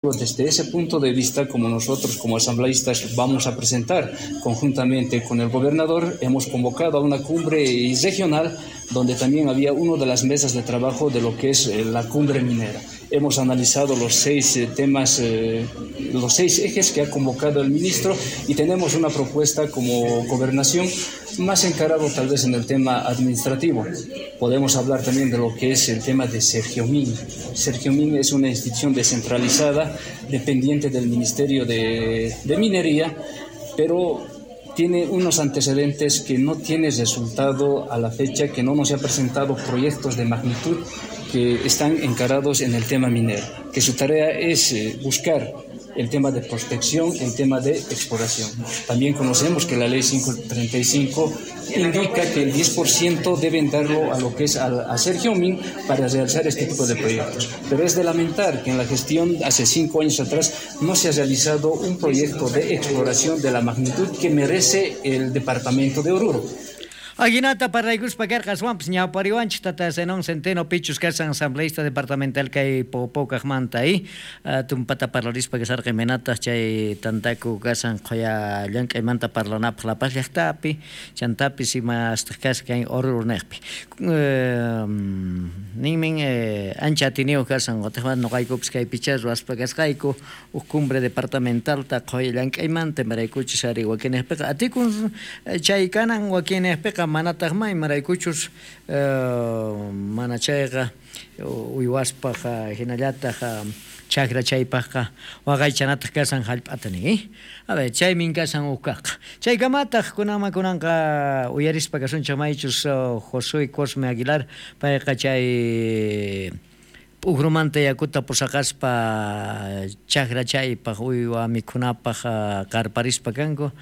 Desde ese punto de vista, como nosotros como asambleístas vamos a presentar conjuntamente con el gobernador, hemos convocado a una cumbre regional donde también había una de las mesas de trabajo de lo que es la cumbre minera. Hemos analizado los 6 temas, los 6 ejes que ha convocado el ministro y tenemos una propuesta como gobernación más encarado tal vez en el tema administrativo. Podemos hablar también de lo que es el tema de Sergiomín. Sergiomín es una institución descentralizada, dependiente del Ministerio de Minería, pero tiene unos antecedentes que no tiene resultado a la fecha, que no nos ha presentado proyectos de magnitud que están encarados en el tema minero, que su tarea es buscar el tema de prospección, el tema de exploración. También conocemos que la ley 535 indica que el 10% deben darlo a lo que es a Sergiomín para realizar este tipo de proyectos. Pero es de lamentar que en la gestión hace 5 años atrás no se ha realizado un proyecto de exploración de la magnitud que merece el departamento de Oruro. Aguinata parlaykuspa karqa aswanpis ñawpariwanchik tata Zenón Centeno pichus kashan asambleísta departamental kay Popokaqmanta tumpata parlarispa kasarqa imaynataq chay tantaku kashan qhuya llank'aymanta parlanapaq La Paz llaqtapi chantapis imastaq kashan kay Oruro niqpi ninmin ancha atiniyuq kashan qutiqmanta nuqaykupis kay picha ruwaspa kasqayku huk cumbre departamentalta qhuya llank'aymanta imaraykuchus ari wakinniqpiqa atikun chay kanan wakinniqpiqa manataq may imaraykuchus mana chayqa uywaspaq hinallataq chakra chaypaqqa waqaychanataq kashan hallp'ata nin. A ver, chaymin kashan huk kaqqa. Chaykamataq kunanman kunanqa uyarispa kasunchik maychus Josué Cosme Aguilar payqa chay p'ukrumanta yakuta pusaqaspa chakra chaypaq uywa mikhunapaq qarparispa kanku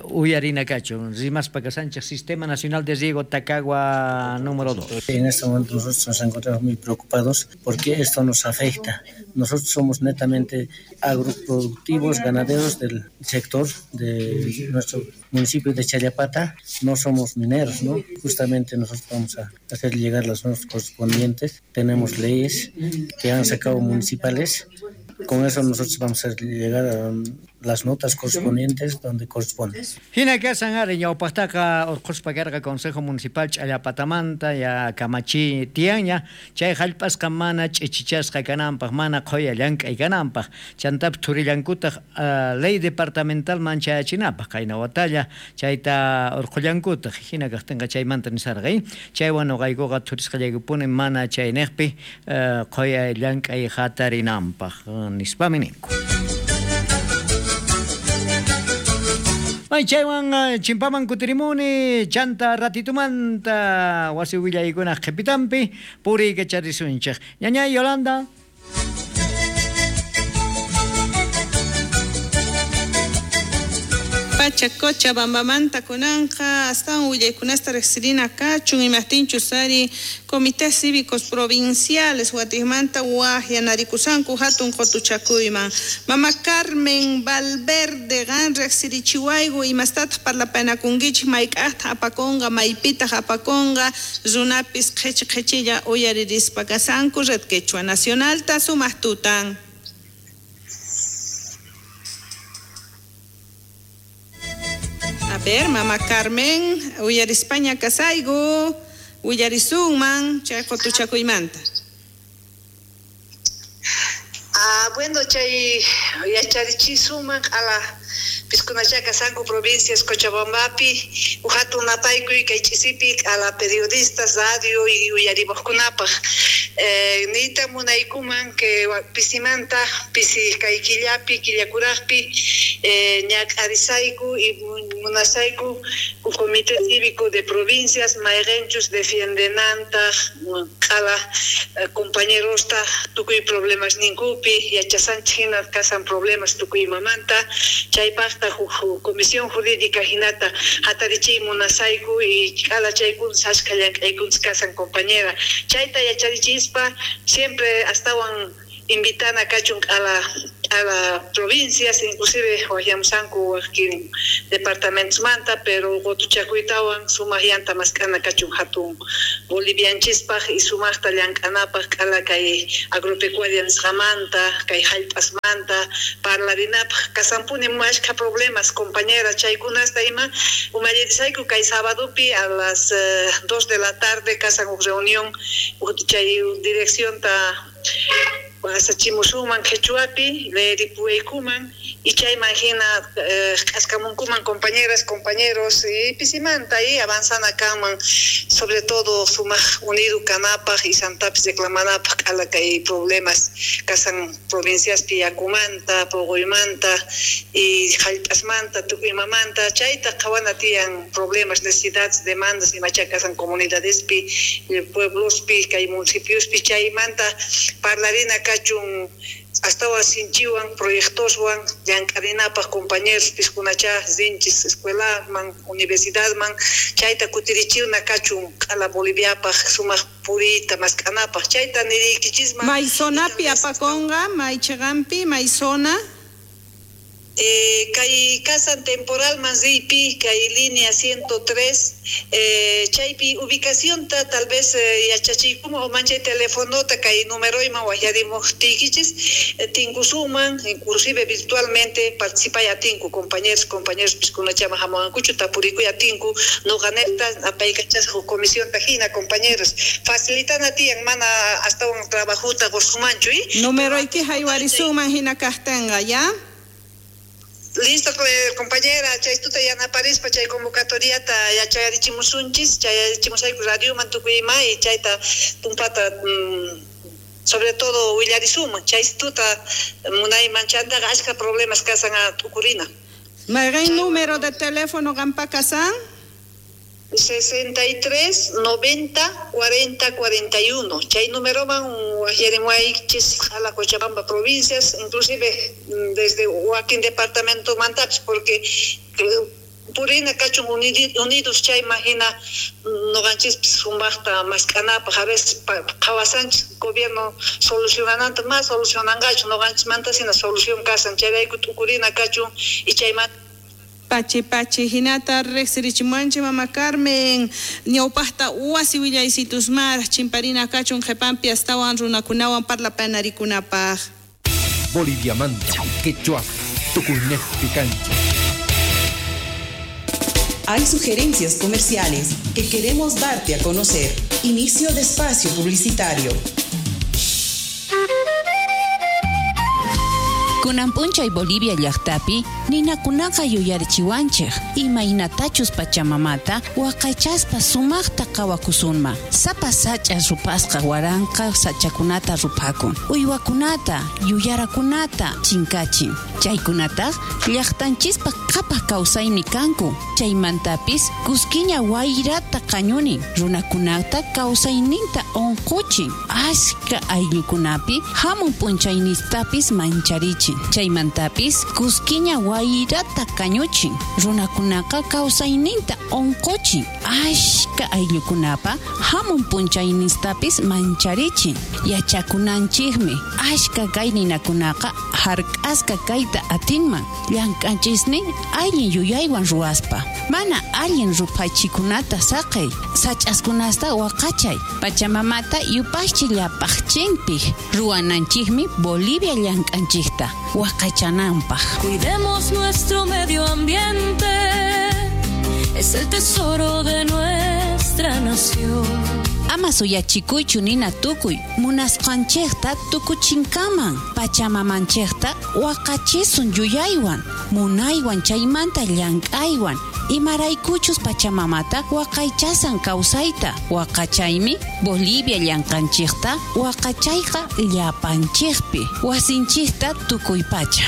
uyarina kachun rimaspa kasanchik Sistema Nacional de Riego Tacagua número 2. En este momento nosotros nos encontramos muy preocupados porque esto nos afecta. Nosotros somos netamente agroproductivos, ganaderos del sector de nuestro municipio de Challapata, no somos mineros, ¿no? Justamente nosotros vamos a hacer llegar las normas correspondientes. Tenemos leyes que han sacado municipales. Con eso nosotros vamos a llegar a las notas correspondientes donde corresponde. Hina kasan ari ñawpaqtaqa urquspa karqa Consejo Municipal Ch'allapatamanta ya kamachi tiyanña chay hallp'asqa mana ch'ichichasqa kananpaq mana qhuya llank'ay kananpaq chantapis thurillankutaq ley departamental manchayachinapaq qayna watalla chayta urqullankutaq hina kaqtinqa chaymanta nisarqa chaywan nuqaykuqa thurisqallaykupuni mana chayniqpi qhuya llank'ay hatarinanpaq nispami ninku. Ay, chaywan chimpaman kutirimuni chanta ratitumanta wasi willaykunaq qhipitampi puriykacharisunchik. Ñañay Yolanda. Pacha Cochabambamanta kunanqa astawan willaykunasta riqsirina kachun imaqtinchus ari comités cívicos provinciales watiqmanta waqyanarikusanku hatun qutuchakuyman. Mama Carmen Valverde qan riqsirichiwayku imastataq parlapanakunkichik mayk'aqtaq apakunqa maypitaq apakunqa runapis qhichi qhichilla uyaririspa kasanku Red Quechua Nacionalta sumaq tutan. A ver, Mama Carmen, uyarispaña kasayku, uyarisunman chay qutuchakuymanta. Bueno, chay yacharichisuman q'ala piskunacha kasanku provincias Cochabambapi, hatun napaykuy kay ch'isipi q'ala periodistas, radio y uyarimuqkunapaq. Niyta munaykuman que pisimanta pisi kay killapi killakuraqpi ñak'arisayku y munasayku Comité Cívico de Provincias mayqinchus defiendenantaq q'ala compañerosta tukuy problemas ninkupi yachasanchik hina kasan problemas tukuy imamanta chaypaqta comisión jurídica hinata hatarichiy munasayku y q'ala chaykuntas achka llank'aykuntas kasan compañera chayta yacharichispa siempre astawan invitana kachun q'ala a provincias, inclusive waqyamusanku wakin departamentosmanta, pero qutuchakuytawan sumaq llanta mask'ana kachun hatun bolivianchispaq y sumaqta llank'anapaq k'ala kay agropecuaria nisqamanta, kay hallp'asmanta parlarinapaq. Kasanpuni ashkha problemas, compañera, chaykunasta ima umallirisayku kay sabadopi a las 2 de la tarde kasan huk reunión chay direccionta asachimusunman quechuapi leeripuwaykuman y chayman hina k'askamunkuman compañeras, compañeros y pisimanta y avanzana kanman, sobre todo sumaq unido kanapaq y santapis reclamanapaq k'ala kay problemas kasan provinciaspi yakumanta, puquymanta y hallp'asmanta, tukuy imamanta, chayta qhawana tiyan problemas, necesidades, demandas imacha kasan comunidadespi, pueblospi, kay municipiospi, chaymanta parlarina kachun astawan sinchiwan proyectoswan llank'arinapaq compañeros piskunacha rinchis escuelaman, universidadman, chayta kutirichiwna kachun k'ala Boliviapaq sumaq puriyta mask'anapaq, chayta niriykichisman. May zonapi apakonqa, may chiqanpi, may zona. Kay kasan temporal riypi kay línea 103, chaypi ubicacionta tal vez yachachiykuman o manchay telefonota kay numeroyman waqyarimuqtiykichis tinkusunman, inclusive virtualmente participay atinku compañeros, compañeros piskunachama hamuwankuchu tapurikuy atinku noqanejta apaykachasqa huk comisionta hina, compañeros, facilitana tiyan mana astawan trabajuta qusumanchu. Numeroyki haywarisunman hina kaqtinqa, ya? Listo, compañera, chaytuta yanaparispa chay convocatoriata yachayarichimusunchis, chayarichimusayku radioman tukuy ima y chayta tumpata sobre todo willarisuman, chaytuta munayman chantaqa ashka problemas kasan a tukurina. ¿Mayqin número de teléfono qampa kasan? 63 90 40 41. Chay numeroman waqyarimuwaychis a la Cochabamba provincias, inclusive desde wakin departamento mantapis, porque purina kachun unidos chayman hina noqanchispis sumaqta mask'anapaq, a veces qhawasanchis gobierno solucionananta, más solucionanqachu noqanchismanta hina solución kasan, chayrayku t'ukurina kachun y chaymanta. Pachi pachi hinata riqsirichimuanchik mama Carmen ñawpaqta wasi willaysitusmaraq chimparina kachun qhipanpi astawan runakunawan parlapanarikunapaq. Boliviamanta quechua tukuynejpi kanchik. Hay sugerencias comerciales que queremos darte a conocer. Inicio de espacio publicitario. Kunan p'unchay Bolivia llaqtapi ninakunaqa yuyarichiwanchik imaynatachus pachamamata waqaychaspa sumaqta qawakusunman. Sapa sach'a rupasqa waranqa sachakunata rupakun, uywakunata, yuyarakunata chinkachin. Chaykunataq llaqtanchispa qhapaq kawsaymi kanku. Chaymantapis kuskiña wayrata qañunin, runakunata kawsayninta unquchin, ashka ayllukunapi hamun p'unchaynistapis mancharichin. Chaymantapis kuskiña wayrata kañuchin, runakunaqa kawsayninta unquchin, ashka ayllukunapa hamun p'unchaynistapis mancharichin. Yachakunanchikmi ashka kay ninakunaqa hark'asqa kayta atinman llank'anchisnin allin yuyaywan ruwaspa. Mana allin ruphachikunata saqey, sach'askunasta waqachay, pachamamata yupaychi llapaqchinpik ruwananchikmi Bolivia llank'anchikta waqaychananpaq. Cuidemos nuestro medio ambiente, es el tesoro de nuestra nación. Ama suyachikuychu nina tukuy munasqanchikta tukuchinkaman, pachamamanchikta waqachisun yuyaywan, munaywan chaymanta llank'aywan, imaraykuchus pachamamata waqaychasan kawsayta, waqachaymi Bolivia llank'anchikta waqachayqa llapanchikpi, wasinchikta tukuy pacha.